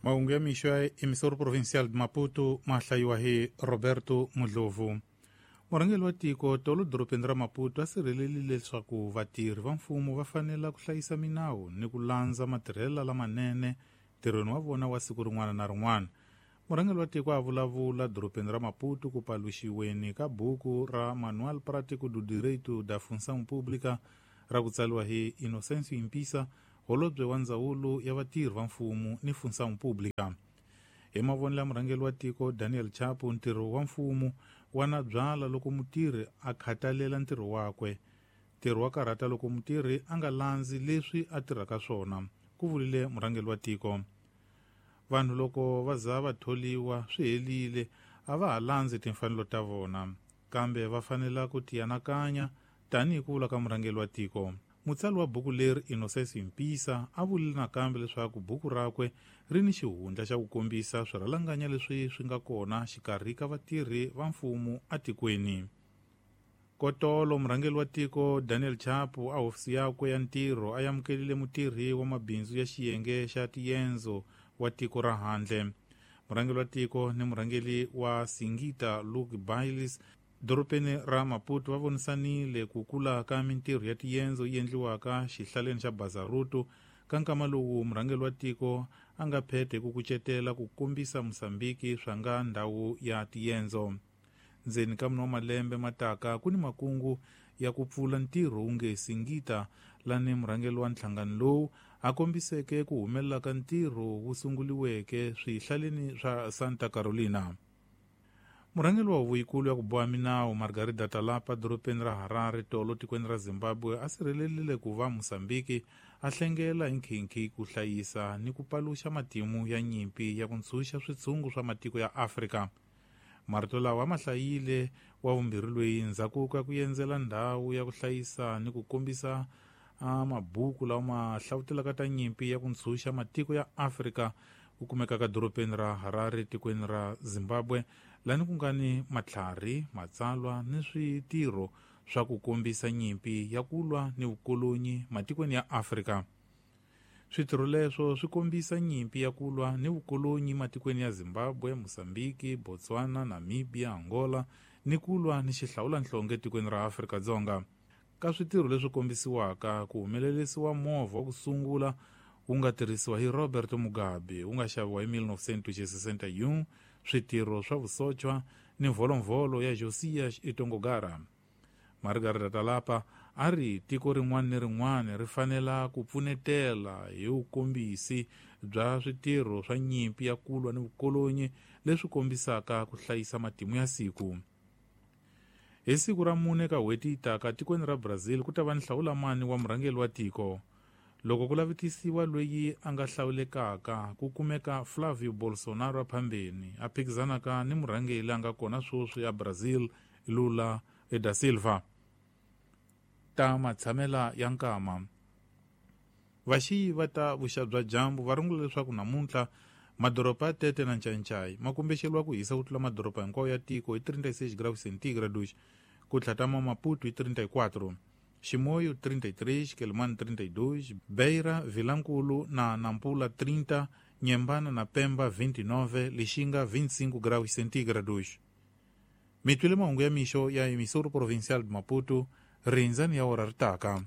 Mahungu ya mixo ya Emissora Provincial de Maputo ma hlayiwa hi Roberto Mudlovu. Murhangeri wa tiko tolo dorobeni ra Maputo a sirhelelile leswaku vatirhi va mfumo va fanela ku hlayisa minawu ni ku landza matirhelo lamanene ntirhweni wa vona wa siku rin'wana na rin'wana. Murhangeri wa tiko a vulavula dorobeni ra Maputo ku paluxiweni ka buku ra Manual Prático do Direito da Função Pública ra ku tsariwa hi Inocêncio Impissa, holobye wa ndzawulo ya vatirhi va mfumo ni Função Pública. Hi mavonelo ya murhangeri wa tiko Daniel Chapo, ntirho wa mfumo wa na byala loko mutirhi a khathalela ntirho wakwe. Ntirho wa karhata loko mutirhi a nga landzi leswi a tirhaka swona, ku vurile murhangeri wa tiko. Vanhu loko va za va tholiwa swi helile, a va ha landzi timfanelo ta vona, kambe va fanela ku tianakanya tanihi ku vula ka murhangeri wa tiko. Mutsari wa buku leri Inocêncio Impissa a vurile nakambe leswaku buku rakwe ri ni xihundla xa ku kombisa swirhalanganya leswi swi nga kona xikarhi ka vatirhi va mfumo atikweni. Kotolo murhangeri wa tiko Daniel Chapo a hofisi yakwe ya ntirho a amukelile mutirhi wa mabindzu ya xiyenge xa tiendzo wa tiko ra handle. Murhangeri wa tiko ni murhangeri wa Singita Luke Bailes dorobeni ra Maputo va vonisanile ku kula ka mintirho ya tiendzo yi endliwaka xihlaleni xa Bazaruto ka nkama lowu murhangeri wa tiko a nga phethe ku kucetela ku kombisa Mozambiki swa nga ndhawu ya tiendzo. Ndzeni ka mune wa malembe mataka ku ni makungu ya ku pfula ntirho wu nge Singita lani murhangeri wa nhlangano lowu a kombiseke ku humelela ka ntirho wu sunguliweke swihlaleni swa Santa Carolina. Murhangeri wa huvo yikulu ya ku boha minawu Margarida Talapa dorobeni ra Harare tolo tikweni ra Zimbabwe a sirhelelile ku va Mozambiki a hlengela hi nkhinkhi ku hlayisa ni ku paluxa matimu ya nyimpi ya ku ntshunxa switshungu swa matiko ya Afrika. Marito lawa ma hlayile wa vumbirhi loyi ndzhaku ka ku endzela ndhawu ya ku hlayisa ni ku kombisa mabuku lawa ma hlavutelaka ta nyimpi ya ku ntshunxa matiko ya Afrika ku kumekaka dorobeni ra Harare tikweni ra Zimbabwe, lani ku nga ni matlhari, matsalwa ni switirho swa ku kombisa nyimpi ya ku lwa ni vukolonyi matikweni ya Afrika. Switirho leswo swi kombisa nyimpi ya ku lwa ni vukolonyi matikweni ya Zimbabwe, Mozambiki, Botswana, Namibia, Angola ni ku lwa ni xihlawulanhlonge tikweni ra Afrika-Dzonga. Ka switirho leswi kombisiwaka ku humelerisiwa movha wa ku sungula wu nga tirhisiwa hi Robert Mugabe wu nga xaviwa hi 1961, switirho swa vusochwa ni mvolovholo ya Josias Itongogara. Margarida Talapa a ri tiko rin'wana ni rin'wana ri fanela ku pfunetela hi vukombisi bya switirho swa nyimpi ya ku lwa ni vukolonyi leswi kombisaka ku hlayisa matimu ya siku. Hi siku ra 4 ka n'hweti yi taka tikweni ra Brazil ku ta va ni hlawulamani wa murhangeri wa tiko. Loko ku lavetisiwa loyi a nga hlawulekaka ku kumeka Flavio Bolsonaro a phambeni a phikizanaka ni murhangeri a nga kona sweswi ya Brazil Lula da Silva. Ta matshamela ya nkama. Vaxiyi va ta vuxa bya dyambu va rungula leswaku namuntlha madoroba ya Tete na Ncancai ma kumbexeriwa ku hisa ku tlula madoroba hinkwawo ya tiko hi 36 graus centigrados, ku tlhatama Maputo hi 34, Chimoio 33, Quelimane 32, Beira, Vilankulu na Nampula 30, Nyembana na Pemba 29, Lixinga 25 graus centígrados. Mi twile mahungu ya mixo ya Emissora Provincial de Maputo, rindzani ya ora ri taka.